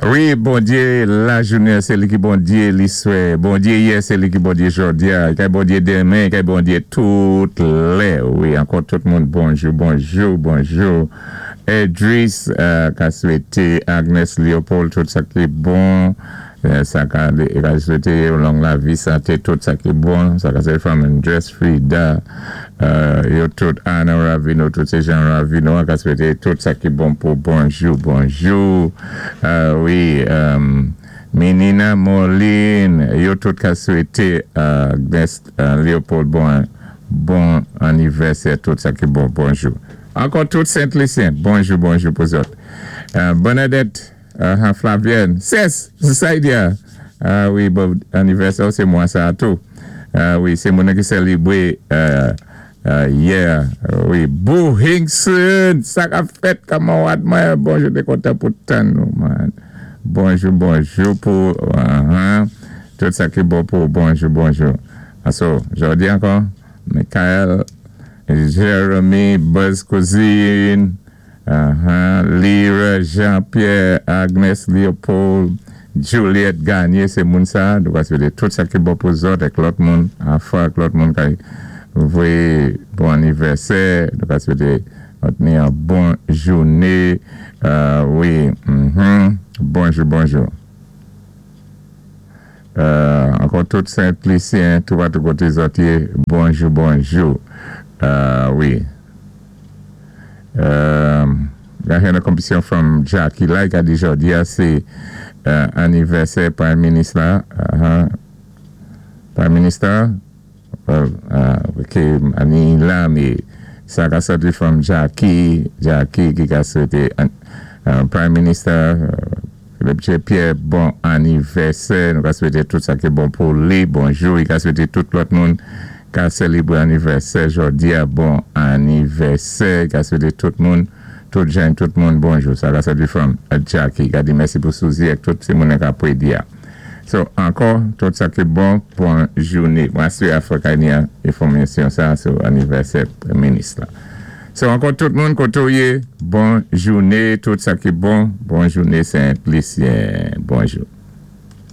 Wi, Bondyé lajounen sé li ki Bondyé liswè, Bondyé yè sé li ki Bondyé jòdi-a, i kay Bondyé denmen, i kay Bondyé tout lè. Wi, ankò tout moun bonjou, bonjou, bonjou. Edris ka swété Agnes Léopold tout sa ki bon, sa ka ka swété yo long lavi, santé, tout sa ki bon, sa ka swété fanmi Andrés, Frida, yo tout Anna Ravino, tout sé Jean Ravino a ka swété tout sa ki bon pou bonjou, bonjou. Wi, Menina Moline, yo tout ka swété Agnes Léopold bon bon anivèsè, tout sa ki bon, bonjou. Ankò tout Sent Lisyen, bonjou, bonjou pou zòt. Bernadette Flavienne, Sès, Saidia, wi, bon anivèsè ou sé mwa sa-a tou. Wi, sé moun ki sèlibré yè. Wi, Boo Hinkson, sa k-ap fèt kanmarad mwen? Bonjou, té kontan pou tann ou, man. Bonjou, bonjou pou tout sa ki bon pou ou. Bonjou, bonjou. So, jòdi ankò, Michael, Jeremy, Buzz Cousine, Lyra, Jean Pierre, Agnes Leopold, Juliette Gagné, sé moun sa, nou ka swété tout sa ki bon pou zòt ak lòt moun, afa ak lòt moun kay voyé bon anivèsè, nou ka swété òt ni an bon jouné, wi, bonjou, bonjou. Ankò tout Sent Lisyen toupatou koté zòt yé, bonjou, bonjou, wi. Ga hen konpetisyon from Jackie la, i ka di jòdi a sé anivèsè Prime Minis la, Prime Minister, well, ok, ani la, mé sa ka sòti from Jackie, Jackie ki ka swété Prime Minister Philippe J. Pierre bon anivèsè, nou ka swété tout sa ki bon pou li, bonjou, i ka swété tout lòt moun ka sèlibré anivèsè jòdi a bon anivèsè, i ka swété tout moun, tout jan tout moun bonjou, sa ka sòti from Jackie, i ka di mèsi pou Suzy ak tout ti moun ka prédi a. So, ankò, tout sa ki bon, bon jouné. Mwen asiré Afrika ni enfòmasyon sa sou anivèsè Premyé Minis la. So, ankò tout moun koté ou yé, bon jouné, tout sa ki bon, bon jouné Sent Lisyen, bonjou.